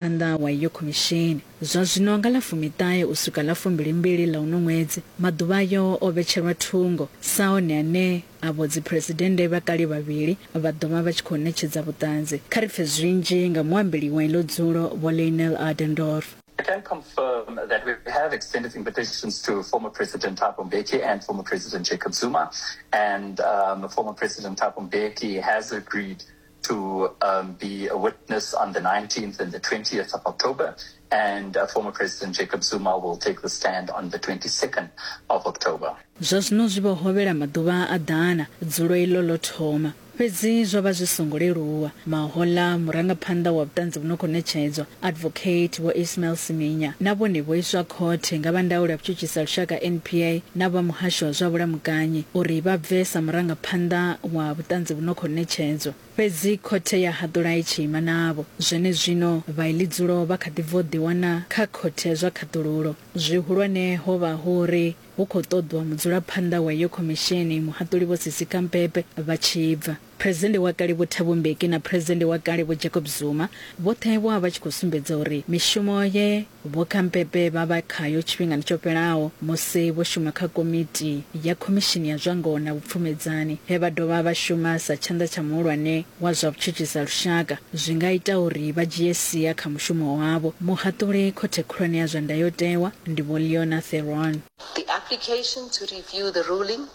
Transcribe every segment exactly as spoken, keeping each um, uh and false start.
Phanḓa wa iyo khomishini. Zwa zwino nga ḽa fumiṱahe u swika ḽa fumbilimbili ḽa uno ṅwedzi, maḓuvha ayo o vhetshelwa thungo sa one ane avho dziphuresidennde vha kale vhavhili vha ḓo vha vha tshi khou ṋetshedza vhuṱanzi. Kha ri pfe zwinzhi nga muambeli wa iḽo dzulo Vho Lionel Adendorff. I can confirm that we have extended invitations to former President Thabo Mbeki and former President Jacob Zuma, and um, former President Thabo Mbeki has agreed to um, be a witness on the nineteenth and the twentieth of October, and uh, former President Jacob Zuma will take the stand on the twenty-second of October. Zwa zwino zwi vho hovhela maḓuvha a ḓana dzulo iḽo ḽo thoma, fhedzi zwo vha zwi songo leluwa. Mahoḽa murangaphanḓa wa vhuṱanzi vhu no khou ṋetshedzwa, Advocate Vho Ismail Siminya, na vhone vho iswa khothe nga vha ndaulo ya vhutshutshisi ha lushaka N P A na vha muhasho wa zwa vhulamukanyi uri vha bve sa murangaphanḓa wa vhuṱanzi vhu no khou ṋetshedzwa. Fhedzi khothe ya haṱula i tshi ima navho. Zwenezwino vha iḽi dzulo vha kha ḓi bva u ḓiwana kha khothe ya zwa khaṱululo. Zwihulwane ho vha hu uri hu khou ṱoḓwa mudzulaphanḓa wa iyo khomishini muhaṱuli Vho Sisi Khampepe vha tshi bva. Presidennde wa kale Vho Thabo Mbeki na Presidennde wa kale Vho Jacob Zuma vhoṱhe vho vha vha tshi khou sumbedza uri mishumo ye Vho Khampepe vha vha khayo tshifhingani tsho fhelaho musi vho shuma kha komiti ya khomishini ya zwa ngoho na vhupfumedzani, he vha dovha vha shuma sa tshanḓa tsha muhulwane wa zwa vhutshutshisi ha lushaka, zwi nga ita uri vha dzhie sia kha mushumo wavho. Muhaṱuli khothe khulwane ya zwa ndayotewa ndi Vho Leona Theron. The application to review the ruling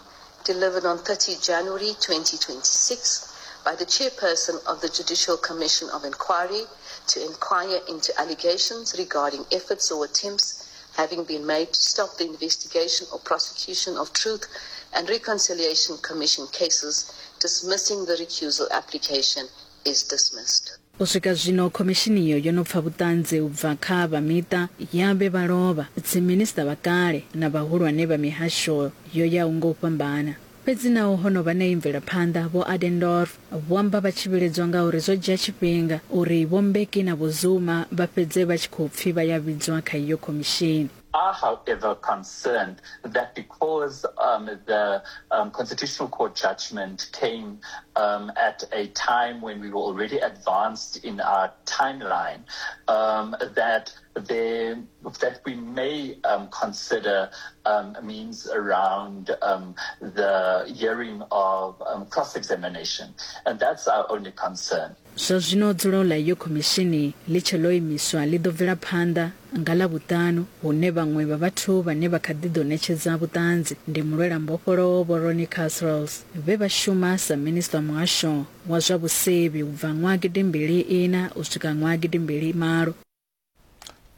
delivered on thirtieth January twenty twenty-six by the chairperson of the Judicial Commission of Inquiry to inquire into allegations regarding efforts or attempts having been made to stop the investigation or prosecution of Truth and Reconciliation Commission cases, dismissing the recusal application, is dismissed. U swika zwino khomishini iyo yo no pfa vhuṱanzi u bva kha vha miṱa ya vhe vha lovha, dziminisiṱa vha kale na vhahulwane vha mihasho yo yaho nga u fhambana. Fhedzi naho ho no vha na iyi mvelaphanḓa, Vho Adendorff vho amba vha tshi vhiledzwa nga uri zwo dzhia tshifhinga uri Vho Mbeki na Vho Zuma vha fhedze vha tshi khou pfi vha ya vhidzwa kha iyo khomishini. Are, however, concerned that because, um, the, um, Constitutional Court judgment came, um, at a time when we were already advanced in our timeline, um, that there, that we may, um, consider, um, means around, um, the hearing of, um, cross-examination, and that's our only concern. Zwa zwino dzulo ḽa iyo khomishini ḽi tshe ḽo imiswa ḽi ḓo bvela phanḓa nga ḽa vhuṱanu, hune vhaṅwe vha vhathu vhane vha kha ḓi ḓo ṋetshedza vhuṱanzi ndi mulwela mbofholowo Vho Ronnie Kasrils, vhe vha shuma sa minisiṱa wa muhasho wa zwa vhusevhi u bva ṅwaha gidi mbili ina u swika ṅwaha gidi mbili malo.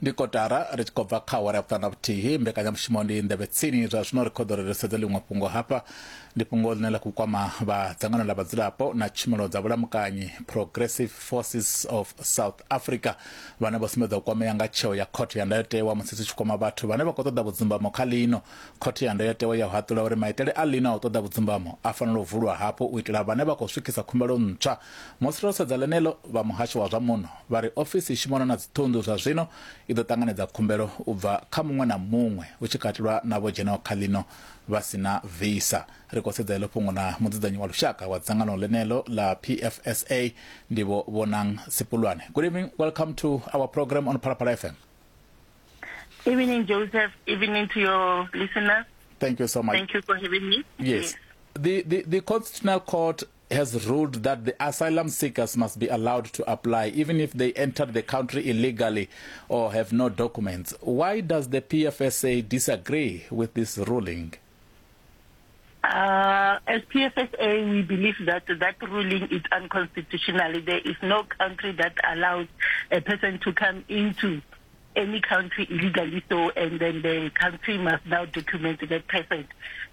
Ndi kotara ri tshi khou bva kha awara ya vhuṱanu na vhuthihi. Mbekanyamushumo ndi nḓevhe tsini. Zwa zwino ri khou ḓo ri sedze ḽiṅwe fhungo hafha, ndi fhungo ḽine ḽa khou kwama vha dzangano ḽa vhadzulapo na tshumelo dza vhulamukanyi Progressive Forces of South Africa, vhane vho sumbedza u kwamea nga tsheo ya khothe ya ndayotewa musi zwi tshi kwama vhathu vhane vha khou ṱoḓa vhudzumbamo kha ḽino. Khothe ya ndayotewa ya haṱula uri maitele a ḽino a u ṱoḓa vhudzumbamo a fanela u vulwa hafhu u itela vhane vha khou swikisa khumbelo ntswa. Musi ro sedza ḽeneḽo, vha muhasho wa zwa muno vha ri ofisi i shumana na dziṱhunḓu zwa zwino i ḓo ṱanganedza khumbelo u bva kha muṅwe na muṅwe hu tshi katelwa na vho dzhenaho kha ḽino vha si na visa. Ri khou sedza iḽo fhungo na mudzudzanyi wa lushaka wa dzangano ḽeneḽo ḽa P F S A, ndi Vho Bonang Sipulwane. Good evening, welcome to our program on Phalaphala F M. Evening, Joseph. Evening to your listeners. Thank you so much. Thank you for having me. Yes. Yes. The, the, the Constitutional Court has ruled that the asylum seekers must be allowed to apply even if they entered the country illegally or have no documents. Why does the P F S A disagree with this ruling? Uh, as P F S A, we believe that that ruling is unconstitutional. There is no country that allows a person to come into any country illegally, so, and then the country must now document that person.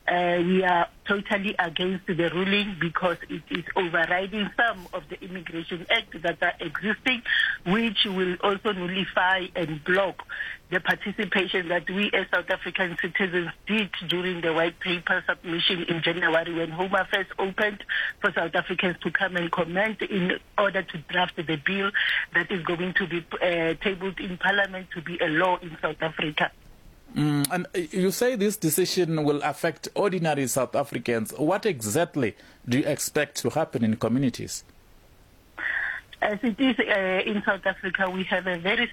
Uh, we are totally against the ruling because it is overriding some of the Immigration Act that are existing, which will also nullify and block the participation that we as South African citizens did during the white paper submission in January when Home Affairs opened for South Africans to come and comment in order to draft the bill that is going to be uh, tabled in Parliament to be a law in South Africa. Mm, and you say this decision will affect ordinary South Africans. What exactly do you expect to happen in communities? As it is uh, in South Africa, we have a very